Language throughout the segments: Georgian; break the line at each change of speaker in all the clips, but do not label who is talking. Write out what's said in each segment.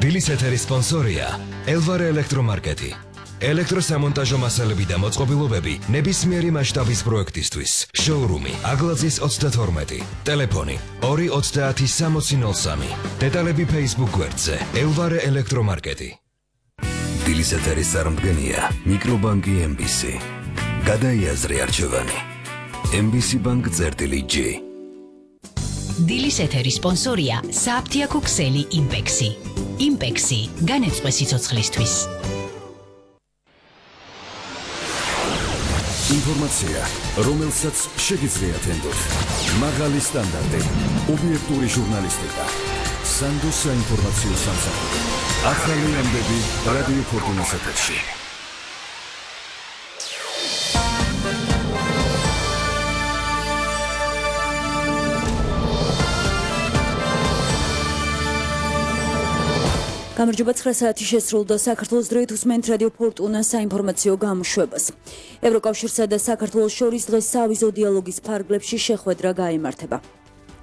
დილის ეთერის სპონსორია ელვარე ელექტრომარკეტი. ელექტროსამონტაჟო მასალები და მოწყობილობები ნებისმიერი მასშტაბის პროექტისთვის. შოურუმი აგლაძის 32. ტელეფონი 2306003. დეტალები Facebook გვერდზე ელვარე ელექტრომარკეტი. დილის ეთერის წარმდგენია მიკრობანკი MBC. გადაიაზრე არჩევანი. MBC Bank წერტილი G.
დილის ეთერის სპონსორია საფთიაქო ქსელი იმპექსი. იმპექსი განეწყვე სიცოცხლისთვის.
ინფორმაცია, რომელსაც შეგიძლიათ ენდოთ. მაღალი სტანდარტი, ობიექტური ჟურნალისტიკა. სანდო საინფორმაციო სამსახური. ახალი ამბები რადიო ფორტუნას ეთერში.
გამარჯობა 9 საათი შესრულდა საქართველოს დროით უსმენთ რადიო ფორტუნას საინფორმაციო გამოშვებას. ევროკავშირსა და საქართველოს შორის დღეს სავიზო დიალოგის ფარგლებში შეხვედრა გაიმართება.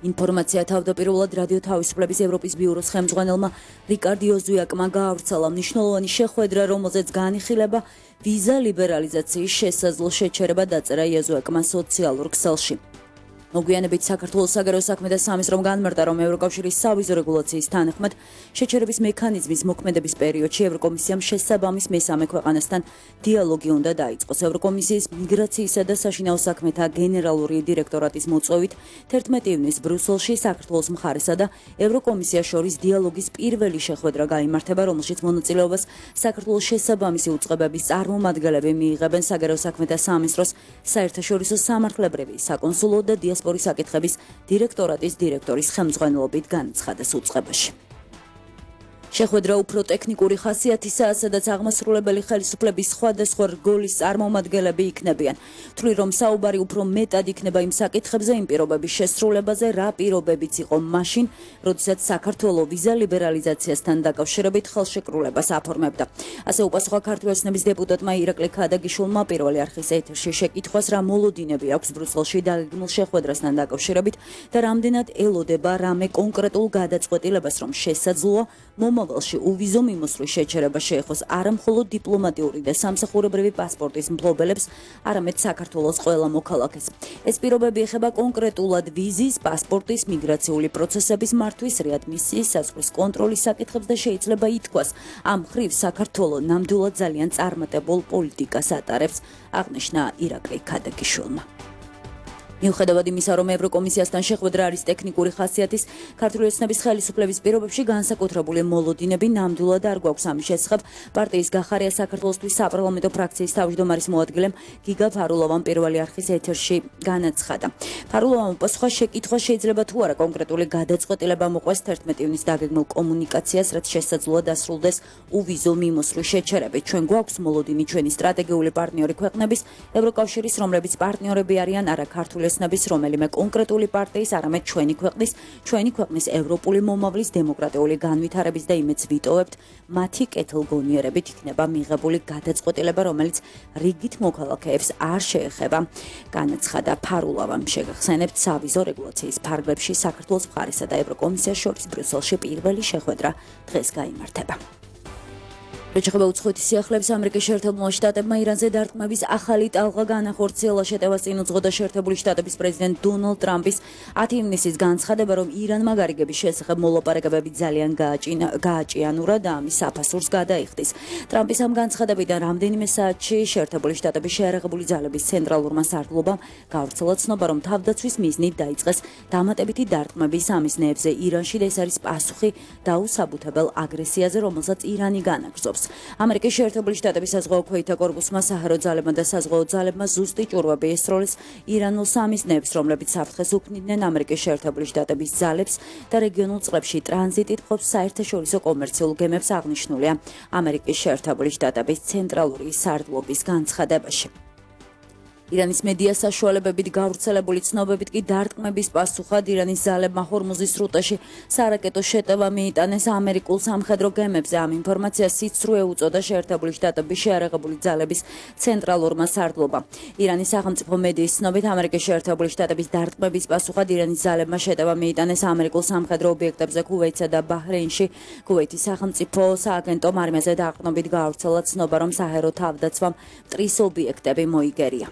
ინფორმაცია თავდაპირველად რადიო თავისუფლების ევროპის ბიუროს ხელმძღვანელმა რიკარდი ოზუიაკმა გაავრცელა მნიშვნელოვანი შეხვედრა, რომელზეც განიხილება ვიზა ლიბერალიზაციის შესაძლო შეჩერება დაწერა ეზუიაკმა სოციალურ ქსელში. მოგვიანებით საქართველოს საგარეო საქმეთა სამინისტრომ განმარტა, რომ ევროკავშირის სავიზო რეგულაციის თანახმად შეჩერების მექანიზმის მოქმედების პერიოდში ევროკომისიამ შესაბამის მესამე ქვეყანასთან დიალოგი უნდა დაიწყოს. ევროკომისიის მიგრაციისა და საშინაო საქმეთა გენერალური დირექტორატის მოწვევით 11 ივნისს ბრიუსელში საქართველოს მხარესა და ევროკომისიას შორის დიალოგის პირველი შეხვედრა გაიმართება, რომელშიც მონაწილეობას საქართველოს შესაბამისი უწყებების წარმომადგენლები მიიღებენ საგარეო საქმეთა სამინისტროს საერთაშორისო სამართლებრივი, საკონსულო და სპორის საკითხების დირექტორატის დირექტორის ხელმძღვანელობით განაცხადეს უწყებაში. შეხვედრა უფრო ტექნიკური ხასიათისაა, სადაც აღმასრულებელი ხელისუფლების სხვადასხვა რგოლის წარმომადგენლები იქნებიან. თვლი, რომ საუბარი უფრო მეტად იქნება იმ საკითხებზე, იმ პირობების შესრულებაზე, რა პირობებიც იყო მაშინ, როდესაც საქართველოს ვიზა ლიბერალიზაციასთან დაკავშირებით ხელშეკრულებას აფორმებდა. ასე უპასუხა ქართული ოცნების დეპუტატმა ირაკლი ქადაგიშვილმა პირველი არხის ეთერში შეკითხვას, რა მოლოდინები აქვს ბრიუსელში დაგეგმილ შეხვედრასთან დაკავშირებით და რამდენად ელოდება რამე კონკრეტულ გადაწყვეტილებას, რომ შესაძლოა მომავალში უვიზო მიმოსვლის შეჩერება შეეხოს არა მხოლოდ დიპლომატიური და სამსახურებრივი პასპორტის მფლობელებს, არამედ საქართველოს ყველა მოქალაქეს. ეს პირობები ეხება კონკრეტულად ვიზის, პასპორტის, მიგრაციული პროცესების მართვის, რეადმისიის, საზღვრის კონტროლის საკითხებს და შეიძლება ითქვას, ამ მხრივ საქართველო ნამდვილად ძალიან წარმატებულ პოლიტიკას ატარებს, აღნიშნა ირაკლი ქადაგიშვილმა. მიუხედავად იმისა, რომ ევროკომისიასთან შეხვედრა არის ტექნიკური ხასიათის, ქართული ოცნების ხელისუფლების პირობებში განსაკუთრებული მოლოდინები ნამდვილად არ გვაქვს. ამის შესახებ პარტიის გახარია საქართველოსთვის საპარლამენტო ფრაქციის თავმჯდომარის მოადგილემ გიგა ფარულოვამ პირველი არხის ეთერში განაცხადა. ფარულოვამ უპასუხა შეკითხვა, შეიძლება თუ არა კონკრეტული გადაწყვეტილება მოყვეს 11 ივნისს დაგეგმილ კომუნიკაციას, რაც შესაძლოა დასრულდეს უვიზო მიმოსვლის შეჩერებით. ჩვენ გვაქვს მოლოდინი ჩვენი სტრატეგიული პარტნიორი ქვეყნების, ევროკავშირის, რომლებიც პარტნიორები არიან არა ქართული ოცნების რომელიმე კონკრეტული პარტიის, არამედ ჩვენი ქვეყნის ევროპული მომავლის დემოკრატიული განვითარების და იმედს ვიტოვებთ, მათი კეთილგონიერებით იქნება მიღებული გადაწყვეტილება, რომელიც რიგით მოქალაქეებს არ შეეხება. განაცხადა ფარულოვამ. შეგახსენებთ, სავიზო რეგულაციის ფარგლებში საქართველოს მხარესა და ევროკომისიას შორის ბრიუსელში პირველი შეხვედრა დღეს გაიმართება. შეეხება უცხოეთის სიახლეებს, ამერიკის შეერთებულმა შტატებმა ირანზე დარტყმების ახალი ტალღა განახორციელა. შეტევას წინ უძღვოდა შეერთებული შტატების პრეზიდენტ დონალდ ტრამპის 10 ივნისის განცხადება, რომ ირანმა გარიგების შესახებ მოლაპარაკებები ძალიან გააჭიანურა და ამის საფასურს გადაიხდის. ტრამპის ამ განცხადებიდან რამდენიმე საათში შეერთებული შტატების შეიარაღებული ძალების ცენტრალურმა სარდლობამ გავრცელა ცნობა, რომ თავდაცვის მიზნით დაიწყეს დამატებითი დარტყმები სამიზნეებზე ირანში და ეს არის პასუხი დაუსაბუთებელ აგრესიაზე, რომელსაც ირანი განაგრძობს. ამერიკის შეერთებული შტატების საზღვაო ქვეითთა კორპუსმა, საჰაერო ძალებმა და საზღვაო ძალებმა ზუსტი ჭურვები ესროლეს ირანულ სამიზნეებს, რომლებიც საფრთხეს უქმნიდნენ ამერიკის შეერთებული შტატების ძალებს და რეგიონულ წყლებში ტრანზიტით მყოფ საერთაშორისო კომერციულ გემებს, აღნიშნულია ამერიკის შეერთებული შტატების ცენტრალური სარდლობის განცხადებაში. ირანის მედია საშუალებებით გავრცელებული ცნობებით კი დარტყმების პასუხად ირანის ძალებმა ჰორმუზის სრუტეში სარაკეტო შეტევა მიიტანეს ამერიკულ სამხედრო გემებზე. ამ ინფორმაციას სიცრუე უწოდა შეერთებული შტატების შეიარაღებული ძალების ცენტრალურმა სარდლობამ. ირანის სახელმწიფო მედიის ცნობით ამერიკის შეერთებული შტატების დარტყმების პასუხად ირანის ძალებმა შეტევა მიიტანეს ამერიკულ სამხედრო ობიექტებზე ქუვეითსა და ბაჰრეინში. ქუვეითის სახელმწიფო სააგენტო არმიაზე დაყრდნობით გაავრცელა ცნობა, რომ საჰაერო თავდაცვამ მტრის ობიექტები მოიგერია.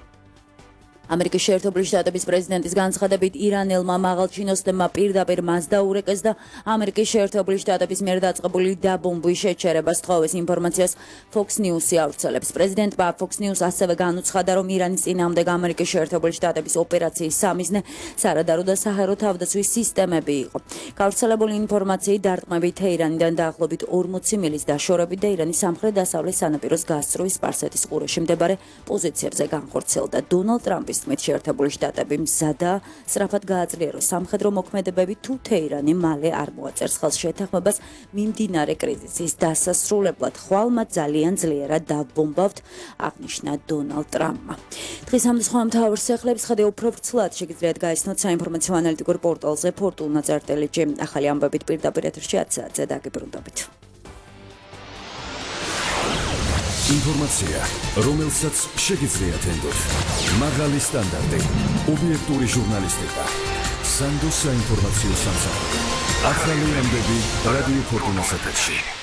ამერიკის შეერთებული შტატების პრეზიდენტის განცხადებით ირანელმა მაღალჩინოსნებმა პირდაპირ მას დაურეკეს და ამერიკის შეერთებული შტატების მიერ დაწყებული დაბომბვის შეჩერებას თხოვეს. ინფორმაციას Fox News-ი ავრცელებს. პრეზიდენტმა Fox News ასევე განუცხადა, რომ ირანის წინააღმდეგ ამერიკის შეერთებული შტატების ოპერაციის სამიზნე სარადარო და საჰაერო თავდაცვის სისტემები იყო. გავრცელებული ინფორმაციით დარტყმები თეირანიდან დაახლოებით 40 მილის დაშორებით და ირანის სამხრეთ-დასავლეთ სანაპიროს გასწვრივ სპარსეთის ყურეში მდებარე პოზიციებზე განხორციელდა. დონალდ ტრამპის თქმით, შეერთებული შტატები მზადაა სწრაფად გააძლიეროს სამხედრო მოქმედებები, თუ თეირანი მალე არ მოაწერს ხელს შეთანხმებას მიმდინარე კრიზისის დასასრულებლად. ხვალ მათ ძალიან ძლიერად დავბომბავთ, აღნიშნა დონალდ ტრამპმა. დღის ამ სხვა მთავარ სახლებს ხედავ უფრო ვრცლად შეგიძლიათ გაიცნოთ საინფორმაციო ანალიტიკურ პორტალზე fortuna.lg. ახალი ამბებით პირდაპირ ეთერში 10 საათზე დაგიბრუნდებით.
ინფორმაცია, რომელსაც შეგიძლიათ ენდოთ. მაღალი სტანდარტი, ობიექტური ჟურნალისტიკა. სანდოს საინფორმაციო სამსახური. ახალი ამბები რადიო ფორტუნას ეთერში.